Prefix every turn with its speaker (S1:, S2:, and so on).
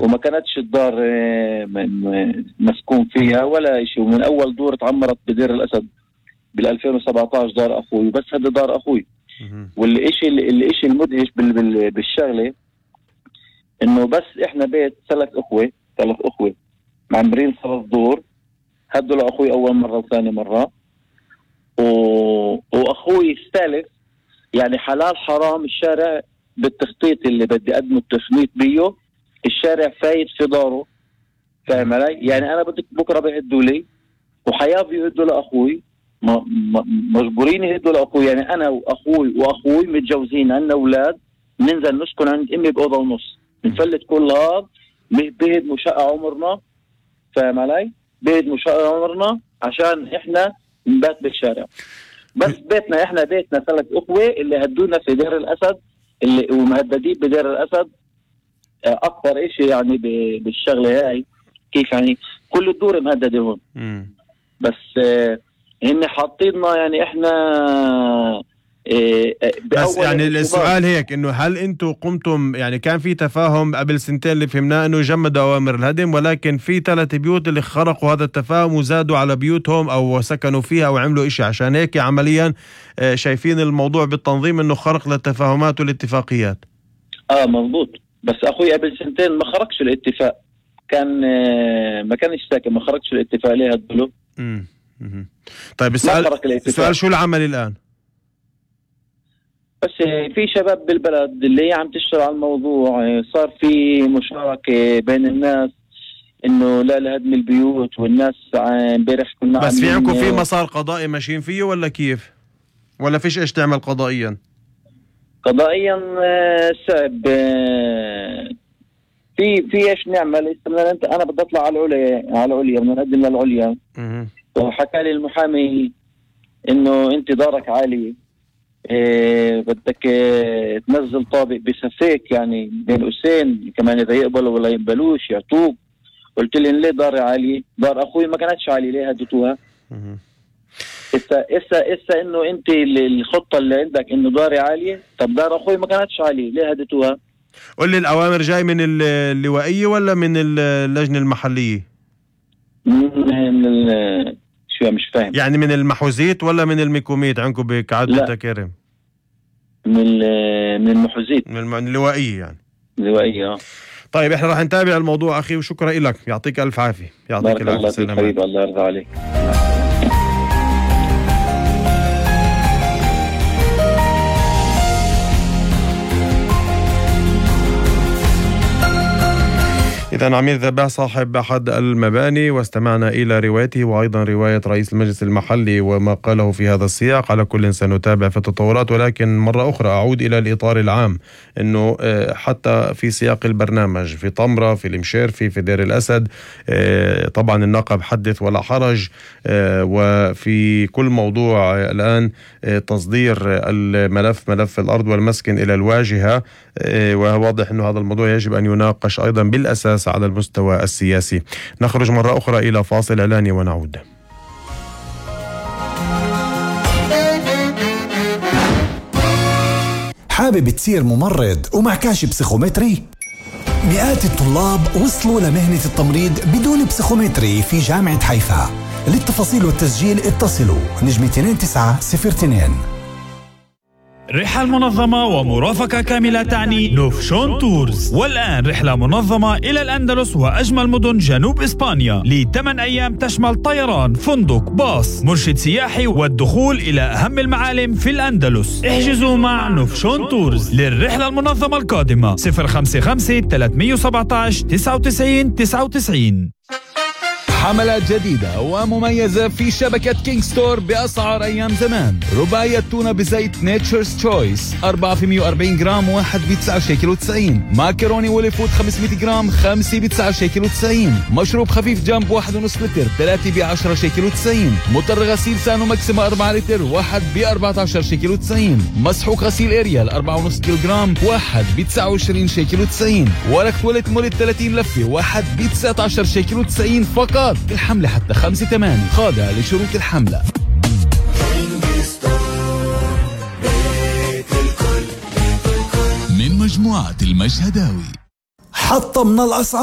S1: وما كانتش الدار مسكون فيها ولا إشي. ومن أول دور تعمرت بدير الأسد بال2017 دار أخوي، بس هذا دار أخوي. والإشي المدهش بالشغلة إنه بس إحنا بيت ثلاث أخوة معمرين 3 دور، هدوا لأخوي أول مرة وثاني مرة، وأخوي الثالث يعني حلال حرام الشارع بالتخطيط اللي بدي أقدمه التخطيط بيه، الشارع فايت في داره، فاهم علي؟ يعني أنا بدك بكرة بيهدوا لي وحيابي يهدوا لأخوي، مجبورين يهدوا لأخوي. يعني أنا وأخوي متجوزين، عندنا أولاد، ننزل نسكن عند أمي بأوضة ونص، نفلت كل هذا بهدموا شقة عمرنا، فاهم علي؟ بهدموا شقة عمرنا عشان إحنا نبات بالشارع. بس إحنا بيتنا 3 أخوة اللي هدونا في دير الأسد، اللي ومهددين بدير الأسد أكثر إشي يعني بالشغلة هاي. كيف يعني كل الدور مهددة هون، بس هن حاطيننا يعني إحنا
S2: بس يعني السؤال هيك إنه هل أنتوا قمتم، يعني كان في تفاهم قبل 2 اللي فهمناه إنه جمدوا أوامر الهدم، ولكن في 3 بيوت اللي خرقوا هذا التفاهم وزادوا على بيوتهم أو سكنوا فيها أو عملوا إشي، عشان هيك عمليا شايفين الموضوع بالتنظيم إنه خرق للتفاهمات والاتفاقيات. مظبوط. بس أخوي قبل 2 ما خرقش الاتفاق، كان ما كانش ساكن، ما خرقش الاتفاق ليه هدلو. طيب السؤال شو العمل الآن؟
S1: بس في شباب بالبلد اللي عم تشتغل على الموضوع، صار في مشاركة بين الناس انه لا لهدم البيوت، والناس امبارح كنا
S2: بس في عندكم في مسار قضائي ماشيين فيه ولا كيف؟ ولا فيش ايش تعمل قضائيا؟
S1: قضائيا صعب. في ايش نعمل؟ انا بدي اطلع على العليا بدنا نقدم للعليا. وحكى لي المحامي انه انت دارك عالي، بدك تنزل طابق بسفيك يعني بين قوسين، كمان اذا يقبلوا ولا يقبلوش يعطوك. قلت لي ليه داري عالي؟ دار اخوي ما كانتش عالي، ليه هدتوها؟ إسا انه انت الخطة اللي عندك انه داري عالية، طب دار اخوي ما كانتش عالية، ليه هدتوها؟
S2: قل لي الأوامر جاي من اللوائية ولا من اللجنة المحلية؟
S1: من شو مش فاهم
S2: يعني من المحوزيت ولا من الميكوميت عندكم بكعادة التكارم؟
S1: من المحوزيت،
S2: من اللوائية يعني.
S1: اللوائية.
S2: طيب احنا راح نتابع الموضوع أخي، وشكرا لك، يعطيك ألف عافية.
S1: يعطيك العافية سلامات. الله يرضى عليك.
S2: إذن عمير ذباح صاحب أحد المباني، واستمعنا إلى روايته وأيضا رواية رئيس المجلس المحلي وما قاله في هذا السياق. على كل سنتابع في التطورات، ولكن مرة أخرى أعود إلى الإطار العام، أنه حتى في سياق البرنامج في طمرة، في المشيرفي، في دير الأسد، طبعا النقب حدث ولا حرج، وفي كل موضوع الآن تصدير الملف، ملف الأرض والمسكن إلى الواجهة، وواضح أنه هذا الموضوع يجب أن يناقش أيضا بالأساس على المستوى السياسي. نخرج مرة أخرى إلى فاصل إعلاني ونعود.
S3: حابب تصير ممرض ومعكاش بسيخومتري؟ مئات الطلاب وصلوا لمهنة التمريض بدون بسيخومتري في جامعة حيفا. للتفاصيل والتسجيل اتصلوا نجم 2902.
S4: رحلة منظمة ومرافقة كاملة تعني نوفشون تورز. والآن رحلة منظمة إلى الأندلس وأجمل مدن جنوب إسبانيا ل8 أيام، تشمل طيران، فندق، باص، مرشد سياحي، والدخول إلى أهم المعالم في الأندلس. احجزوا مع نوفشون تورز للرحلة المنظمة القادمة 055 317 99 99.
S5: حملات جديدة ومميزة في شبكة كينج ستور بأسعار أيام زمان. رباعية تونة بزيت نيتشرز تشويس 4 في 140 جرام، 1 ب19.90. ماكروني وولي فود 500 جرام، 5 ب19.90. مشروب خفيف جامب 1.5 لتر، 3 ب10.90. مطر غسيل سانو ماكسيما 4 لتر، 1 ب14.90. مسحوق غسيل اريال 4.5 كيلو جرام، 1 ب29.90. ورق تواليت مولت 30 لفة، 1 ب19.90 فقط. الحملة حتى 5/8، خاضعة لشروط الحملة.
S6: من مجموعة المشهداوي.
S3: حطمنا الأسعار.